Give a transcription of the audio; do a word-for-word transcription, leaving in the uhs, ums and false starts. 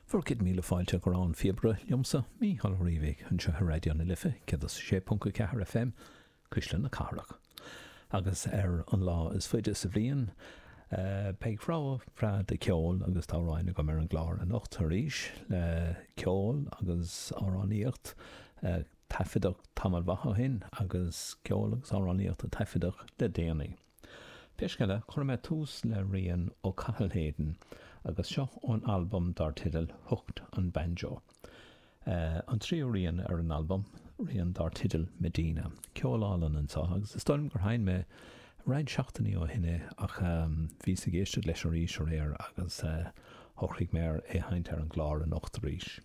Bhur gcéad míle fáilte go An Phíobaire liomsa, Mícheál Ó Riabhaigh, anseo ar Raidió na Life céad a sé ponc a ceathair F M, Cuisle na Cathrach. Agus ar an lá is faide sa bhliain, beidh rogha bhreá de cheol agus d'amhráin agam ar an gclár anocht arís, le ceol agus amhránaíocht taifeadadh tamall maith ó shin agus ceol agus amhránaíocht a taifeadadh le déanaí. Pé scéal é, cuirfidh mé tús le rian ó Cathal Hayden agus seo ón albam dar teideal Hooked on Banjo. An tríú rian ar an albam, rian dar teideal Medina. Ceol álainn anseo, agus is dóigh liom gur sheinn mé roinnt seachtainí ó shin é, ach bhíos ag éisteacht leis arís aréir agus shocraigh mé ar é a sheinnt ar an gclár anocht arís.